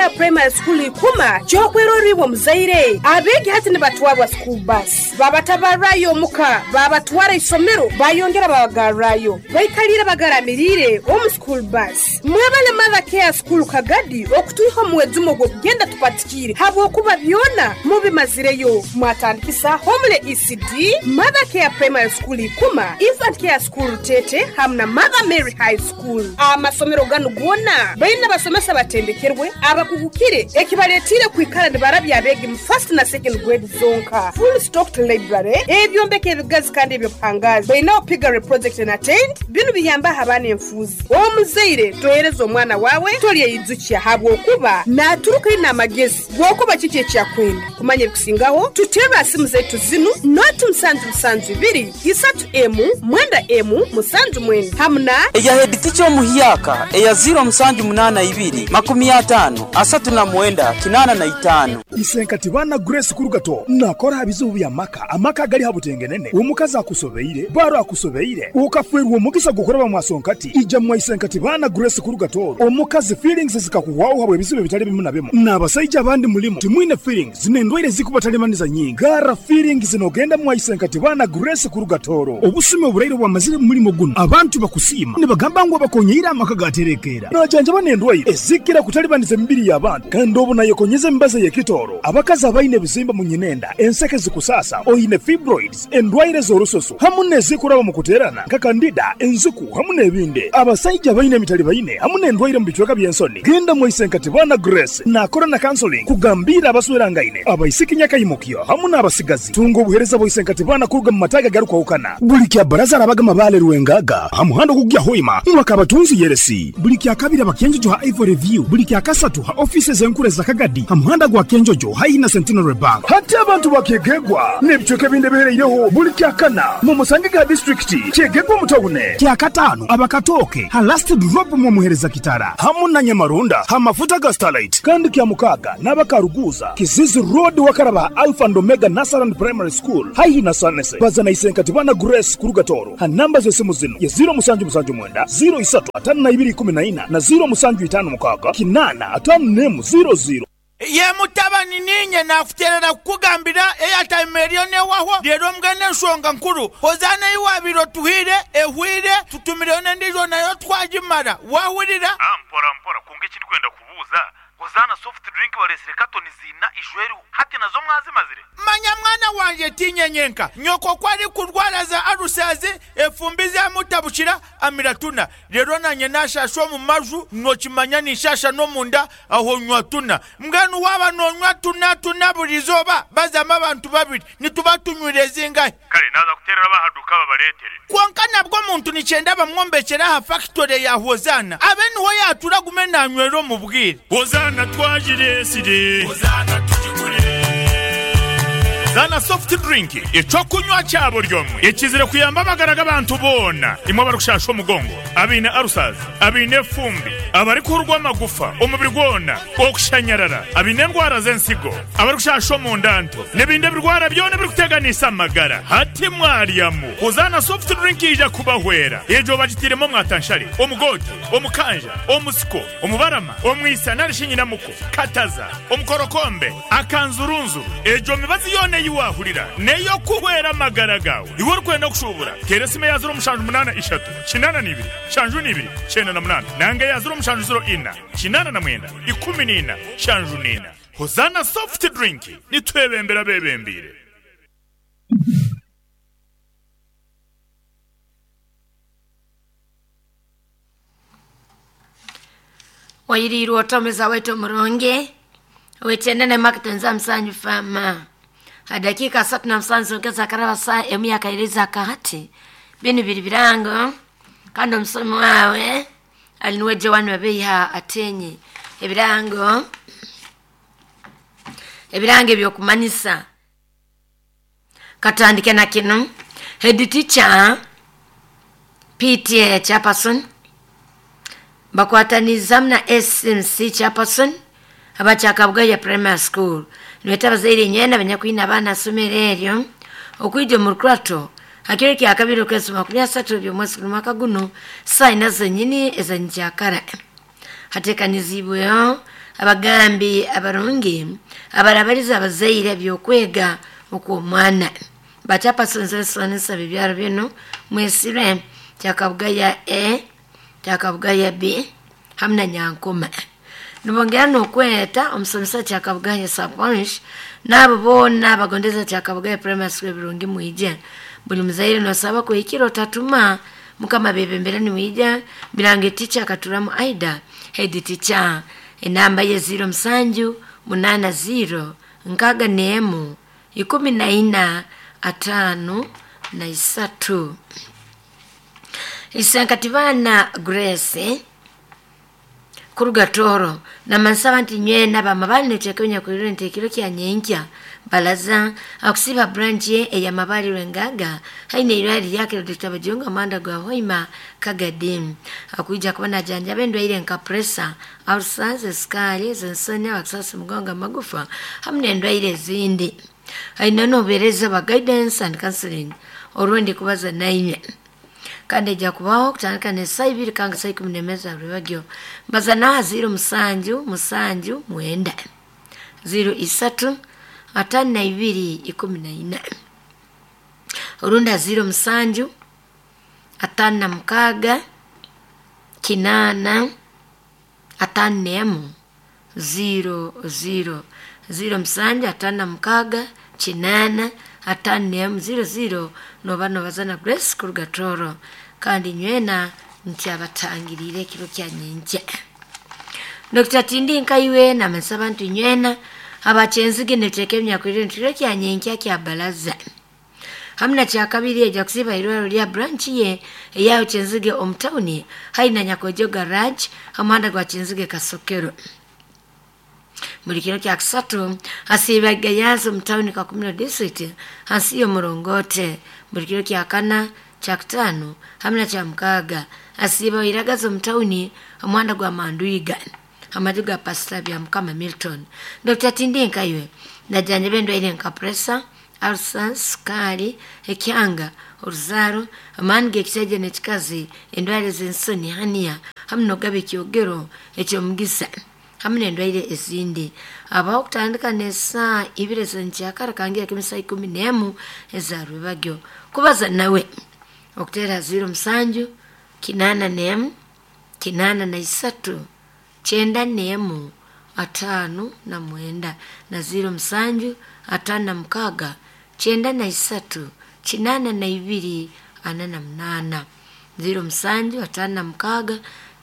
Care Primary School Ikuma ky'okwerorra iwe omuzaire. Abeegi hati nibatwarwa school bus, babatabarrayo omuka, babatwara isomero, bayongera babagarrayo. Baikaliire bagaramiriire omu school bus. Mwebale Mother Care School Kagadi okutwiha omu mwejumo ogw'okugenda tupatikiire habwokuba byona mubimazireyo. Mwatandikisa Homely ECD, Mother Care Primary School Ikuma, Infant Care School Rutete hamu na Mother Mary High School. Amasomero ganu goona baine abasomesa abatendekerwe, abakugukire ekibaletiire kwikara nibarabya abeegi mu first na second grade zonka. Full stocked library, ebyombeko ebigazi kandi eby'obuhangaazi. Baineho piggery project na tent, binu biyambaho abaana enfuuzi. Omuzaire tohereza omwana waawe tolyeyijukya habwokuba naaturuka aine amagezi g'okuba kiki eki akwenda. Kumanya ebikusingaho, tuterre ha simu zaitu zinu, noti musanju musanju ibiri, isatu emu, mwenda emu, musanju mwenda hamu na. Eya heeditica omuhyaka eya ziiro musanju munaana ibiri, makumi ataano, asatu na mwenda, kinaana na itaano. Isenkati baana Grace Kurugato nakora ha bizibu by'amaka, amaka agali ha butengenene, omukazi akusobeire, baro akusobeire, okafwerwa omugisa gw'okuraba mwasonkati, ija mwa Isenkati baana Grace Kurugato, omukazi feelings zikakuhwaho habw'ebizibu ebitali bimu na bimu, n'abasaija abandi mulimu timwine feelings n'endwaire ezikubatalibaniza nyingi, garra feelings n'ogenda mwa Isenkati baana Grace Kurugatoro. Obusumi oburaire obwamazire mu mulimo gunu, abantu bakusiima nibagamba ngu abakonyeire amaka gaterekeera. Najanjaba n'endwaire ezikira kutalibaniza emibiri y'abantu kandi obu nayekonyeza emibazi ey'ekitooro, abakazi abaine ebizimba mu nyinenda, enseke zikusaasa, oine fibroids, endwaire z'orususu hamu n'ezikuraba mu kuteerana nka kandida, enziku hamu n'ebindi. Abasaija abaine emitalibaine hamu n'endwaire mu bicweka by'ensoni, genda mwaise Nkatibana Grace naakora na counseling kugambiira abaswerangaine, abaisiki nyakaimukyo hamu n'abasigazi. Tunga obuheereza bwa Isenkatibana kuruga mu mataagi agarukwahukana. Buli kya Baraza arabaga Mabaale Rwengaga ha muhanda ogukugya Hoima mwaka Abatunzi Yeresi. Buli kya Kabiri aba Kyenjojo ha Ivory View. Buli kya Kasatu ha ofiisi ez'enkuru eza Kagadi ha muhanda gwa Kyenjojo haihi na Centenary Bank. Hati abantu ba Kyegegwa n'ebicweka ebindi ebihereireho buli kya Kana mumusangege ha disiturikiti Kyegegwa omu tawune. Kya Kataano aba Katooke ha Last Drop mwomuhereza Kitara hamu na Nyamarunda ha mafuta ga Starlight. Kandi kya Mukaaga n'aba Karuguuza, Kizizi Road wakaraba ha Alpha and Omega Nursery and Primary School haihi na Sanese. Baza na Isenkatibana Grace kuruga Tooro ha namba z'esimu zinu ye ziiro musanju musanju mwenda, ziiro isatu atano na ibiri ikumi na ina na ziiro musanju itaano mukaaga kinaana ataano n'emu ziiro ziiro. Ye mutabani, niinye naakuteerera kukugambira eyataima eriyo n'ewahwo. Reero mbwenu enshonga nkuru, Hozaana ei waabaire otuhaire ehweire, tutumireyo n'endiijo nayo twagimara. Waahurira? Mpora mpora, kwonka eki ndikwenda kubuuza, Hozaana soft drink bareetsire katoni ziina ijo eriho, hati nazo mwazimazire? Manya mwana wangye, tiinye nyenka. Nyoko ku arikurwara za alusazi, efumbi zamutabukira, amira tuna. Reero naanye naashaasha omu maju, nookimanya ninshaasha n'omunda, aho nywa tuna. Mbwenu waaba noonywa tuna tuna buri izooba, bazamu abantu babiri, nituba tunywire zingahi? Kare naaza kuteerera ab'aha duuka babareetere. Kwonka nabwo omuntu nikyenda bamwombekyere aha fakitore ya Hozaana, abe niho yaatura agume naanywera omu bwire. Hozaana twagireetsire. Hozaana tugigure. Zaana Soft Drink, eky'okunywa kya buri omwe ekizire kuyamba amagara g'abantu boona, imwe abarikushasha omugongo, abaine ulcers, abaine efumbi, abarikuhurwa amagufa omubiri gwona, okushanyarara, abaine endwara z'ensigo, abarikushasha omunda nto, n'ebindi ebirwara byona ebirikuteganisa amagara. Hati mwaryamu, Hozaana Soft Drink yaija kubahwera. Egyo bagitairemu omwatanshare, omugoote, omukanja, omusiko, omubarama, omwisa nari shi nyinamuko, kataza, omukorokombe, akanzurunzuru. Egyo mibazi yoona ei waahurira n'ey'okuhwera amagara gaawe. Iwe orikwenda kushuubura, teera esimu eya ziro mushanju munaana ishatu, kinaana na ibiri, nshanju na ibiri, kyenda na munaana nanga eya ziro mushanju ziro ina, kinaana na mwenda, ikumi na ina, nshanju na ina. Hozaana Soft Drink, nitwebembera abeebembeire. Wairiirwe ota omuza waitu omurungi ow'ekyendene Mark Nza Musanyu Farmer. Ha dakiika asatu na musanju zonka ezakaraba saa emu yakairiza akahati. Binu biri birango kandi omusomi wawe ali nuwe Joan Babeiha Atenyi. Ebirango ebirango ebyokumanyisa katandike na kinu head teacher PTA chairperson bakwatanizamu na SMC chairperson abakyakabugaya primary school nibeeta abazaire nyena abanyakwine abaana asomero eryo okwija omu rukurato hakiro kya kabiri okwezi makumi asatu by'omwezi guno mwaka guno saa ina zenyini ezanyikyakara hatekanizibweho. Abagambi abarungi abarabariza abazaire byokwega okw'omwana. Bachapasonzesonesa bibyaro bino mwesire kyakabugaya A, kyakabugaya B hamwe na Nyankoma. Nibongera n'okweta omusomesa kyakabugaya Saponge n'abo boona abagondeza kyakabugaya primary school birungi mwije. Buli muzaire nosaba kuhikira otatuma mukama bebembera niwija birange teacher akaturamu Aida head teacher enamba ye 07 80 61 14 53. Isenkatibana Grace kuruga Toro na mansaba nti nywena bamabali netekenya kuliro ntekiro kya nyenkya balaza akusiba branch ye eya mabali rwengaga haine irali yake Dr. Bajunga manda gwa hoima kagadim akuija kubona janja bendwa ile nka pressure ulcers sukari zensoni aksasi mgonga magufa hamne ndwaire zindi haina no bereza ba guidance and counseling orundi kubaza naine kandi ejja kubaho kutandika n'esaaha ibiri kanga saa ikumi n'emwe za rwebagyo mbaza naha 0 7 7 9 0 3 52 14 orunda 0 7 56 8 51 0 0 0 7 56 8 51 00 noba nobazana Grace kuruga Toro kandi nywena nti abatangirire ekiro kya nyenkya. Dr. Tindi Nkaiwe na masaba nti nywena abachenzige neteke emyakwire nti kya nyenkya kya balaza hamna kya kabiri ejja kusiba irwaro lya branch ye eyayo Kyenzige omutawuni haina Nyakojo garage hamanda gwa Kyenzige Kasokero. Buli kiro kya kusatu asiba Gayaza mutawuni ka Kumino district hansi y'omurongote. Buli kiro kya kana kya kutano hamna kya mukaga asiba Iragazo mutawuni omwanda gwa Manduiga amaju ga Pastor bya Mukama Milton. Dr. Tindi Nkaiwe najanja bendwa ile nka pressure ulcers sukari ekyanga oruzaro amani gekisajja nekikazi endwara z'ensoni hania hamwe nogaba ekyogero ekyomugisa hamwe n'endwaire ezindi. Abaho kutandika n'esaa ibiri ez'enkyakara kangira k'emisaa 11 eza rwebagyo kubaza nawe okutera 0 7 81 83 91 59 na 0 7 56 93 82 48 0 7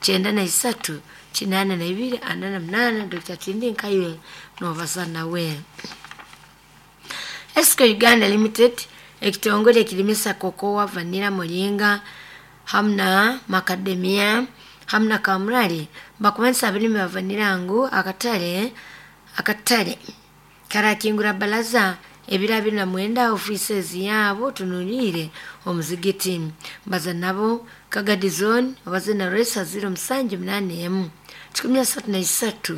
56 93 82 48. Dr. Tindi Nkaiwe nobaza nawe. Esco Uganda Limited ekitongole ekirimisa kokowa, vanilla, moringa hamna macadamia hamna kamurari bakumanisa abalimi ba vanilla ngu akatale karakingura balaza ebiro 29 offices yabo tunulire omuzigiti mbaza nabo Kagadi zone obaze na resa 0 7 8 133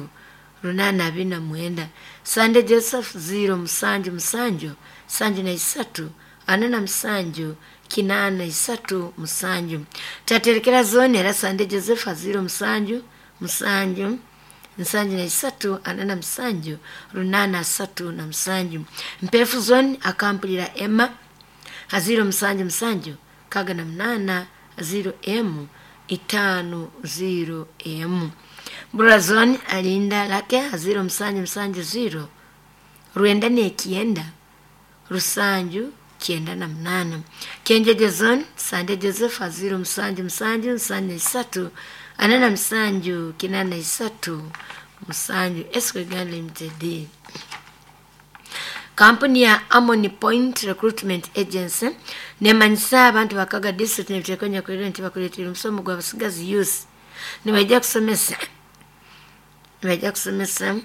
829 Sande Joseph 0 7 7 73 47 83 7 Taterekera zone era Sande Joseph 0 7 7 73 47 8 37 Mpefu zone akampulira Emma 0 7 7 68 0 M 5 0 M Burazon alinda lake 0 7 7 0 Rwenda nekienda Rusanju 98 Kenjeje zone Sande Joseph 0 7 7 3 47 83 7 Esco Uganda Limited. Kampuni ya Amoni Point Recruitment Agency nemanyisa abantu bakaga district nebitekonya kwirira nti bakuleetera omusomo gwa basigazi youth nibajja kusomesa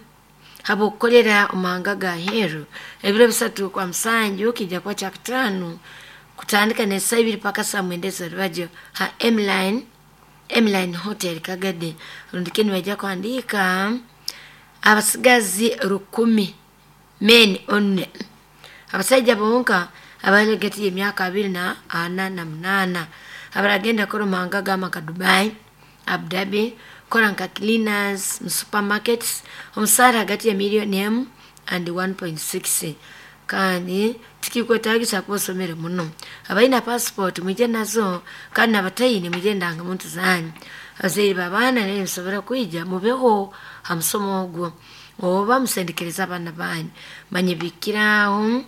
habwokukolera omahanga ga heru ebiro 3 kwa musanju kijja kuba kya kutaano kutandika n'esaaha 2 paka saa 9 ez'orubajyo ha Emline Hotel Kagadi. Rundike nibajja kuhandiika abasigazi 1000 men only abasaija bonka abalegeti emyaka 24 na 8 abaragenda kora omahanga g'amaka Dubai, Abu Dhabi, kukora nka cleaners mu supermarkets, omusaara hagati ya miliyoni emu and 1.6. Kandi tikikwetagisa kuba osomere muno. Abaina passport mwije nazo, kandi nabataine mwije ndangamuntu zanyu. Abazaire b'abaana nayo musobora kwija mubeho ha musomo ogwo, oba musendekereza abaana banyu. Manye bikiraho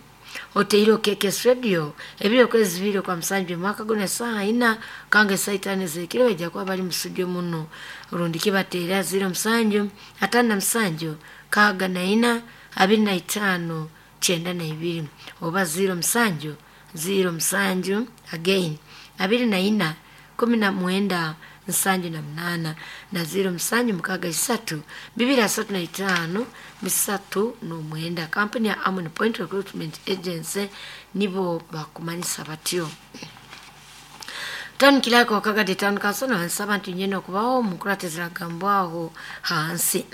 oteire okekes radio ebiro kwezi bibiri kwa musanju mwaka guno esaha ina kanga esaha itano ezekiro bajja kuba bali mu studio muno. Rundi kibateera 07 57 64 25 92 oba 07 07 again 24 19 78 na 07 6 2 35 39. Kampuni ya Amon Point Recruitment Agency nibo bakumanyisa batyo. Town Clerk wa Kagadi Town Council nansaba nti nyene okubaho mukuratizira gambwaho hansi.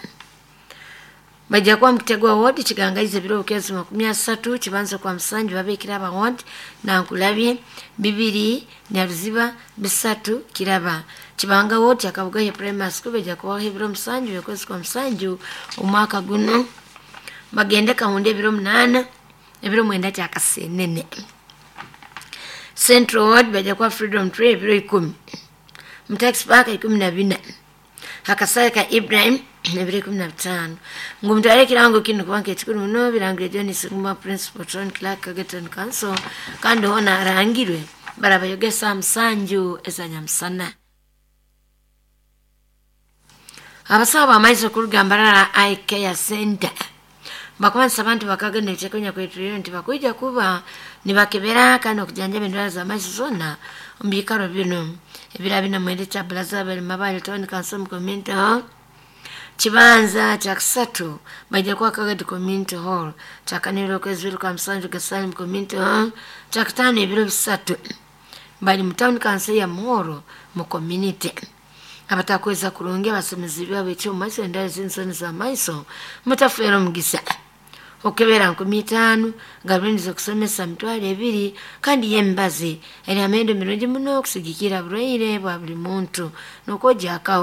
Bajja kuba mukitegwa ward kigangaize ebiro bukezi 30 kibanza kwa musanju babikira aba ward nankulabye 2 Nyaruziba 3 Kiraba. Kibanga ward yakabugaye primary school bajja kubaho ebiro musanju byokwezi kwa musanju omwaka guno. Bagende kahunde ebiro 8 ebiro 9 kyakasenene. Central Ward bajja kuba Freedom Tree ebiro 10. Mutax Park 14. Hakasaya ka Ibrahim ebiro 15. Ngumutwale ekirango kino kubanga ekikulu muno birangire John Sigma Principal Town Clerk Kagadi Council kandi hona arangirwe barabayogesa musanju ezanyamusana. Abasawo bamaiso kuruga Mbarara Eye Care Center bakubanisa abantu bakagenda ekyekonya kwetuliro nti bakwija kuba nibakebera kandi okujanjaba endwara z'amaiso zonna omu biikaro bino. Ebiro bina mwenda kya Brazzaville Mabale Town Council mu Community Hall. Kibanza kya kusatu bajja kuba Kagadi Community Hall. Kyakana ebiro okwezi bibiri kwa musanju Gasani mu Community Hall. Kyakutaano ebiro 3 bali mu Town Council ya Muhoro mu community. Abatakweza kurungi abasomezi byabo eky'omu maiso endwara z'ensoni z'amaiso mutafeera omugisa. Okebera 50,000 gabuliniza okusomesa 20,000 kandi y'emibazi eri amendo mirungi muno okusigikira burwaire bwa buli muntu n'okwojakaho.